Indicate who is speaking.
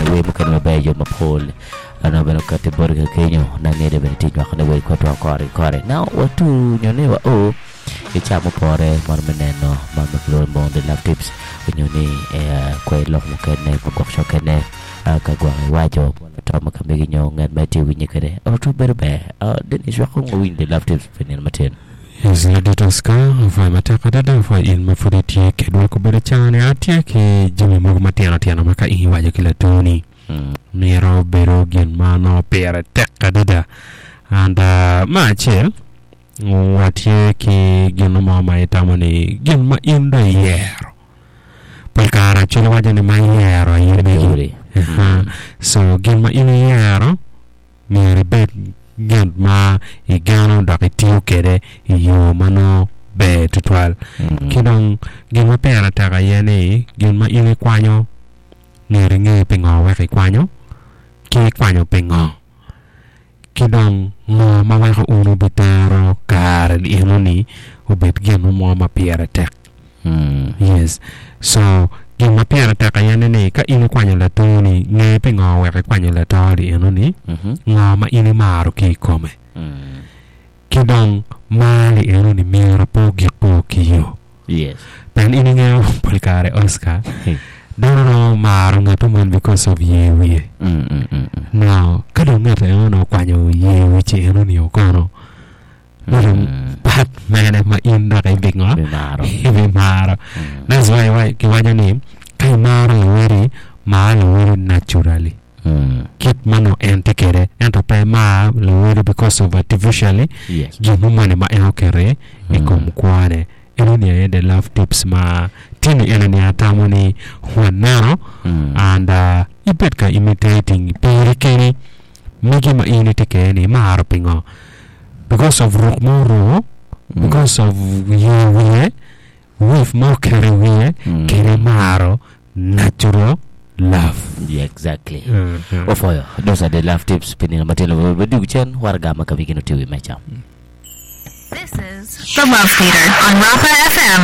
Speaker 1: bene wer mukene maber yo mapol anongo bene okati boti ka kenyo na ngede bene tye nywako ne wer kwedwa kore ki kore. Now watu nyo ni wa o i ca mupore mono me neno man ma kilwongo ni Mondo the Love Tips onyo ni kwer lok mukene ma gwok cokene ka gwok iwaco bot lato ma ka megi nyo ngat ma itye winye kwede oto bedo ber. Dennis wek kong wawiny the Love Tips pi nino matin.
Speaker 2: Yes, ladit Oscar, apwoyo matek adada, apwoyo in ma pud itye kedwa kobedo caa-ni. Atye ki jami mogo matino tino ma ka in iwaco ki latoni myero obedo gin ma nongo pire tek adada. And me acel, watye ki gin mo ma itamo ni gin ma in dong iyero. Pol kare acel iwaco ni ma iyero aye megi. So gin ma in iyero myero ibed gin ma igeno dok itiyo kwede i yo ma nongo ber tutwal. Ki dong gin ma pire tek aye ni gin ma in ikwanyo myero inge pingo wek ikwanyo ki ikwanyo pingo. Ki dong ngo ma weko un wubitero kare enoni obed gin mo ma pire tek. Yes. So, gin ma pire tek aye ni ni ka in ikwanyo latoni, nge pingo wek ikwanyo lato-ni enoni, ngo ma in imaro ki i kome. Ki dong mar-ri enoni myero pe ogik-ko ki yo.
Speaker 1: Yes.
Speaker 2: Pien in ingeyo pol kare Oscar, dano romo maro ngat moni because of yer wiye. Now, ka dong ngat enoni okwanyo yer wic enoni kono, Dong pat mene ma in dok ibingo?
Speaker 1: Ibimaro.
Speaker 2: Ibimaro. That's why wa- kiwaco ni ka imaro lawoti, mar lawoti naturally. Kit ma nongo en tye kwede. Ento pe imar lawoti because of artificially
Speaker 1: Yes.
Speaker 2: gin mo moni ma en oketo i kom kwone. Enoni aye the love tips ma tye ni enoni atamo ni waneno and uh, ibed ka imitating piri keni Magi ma in itye kwede ni imaro pingo? Because of ruk ma oruko, because of yer wiye, weave ma oketo i wiye, kede imaro natural love.
Speaker 1: Yeah, exactly. Opwoyo. Those are the love tips pi nino matin wadwogo cen waraga ma ka wigi nongo tye i wi meja.
Speaker 3: This is The Love Theater on Rafa FM.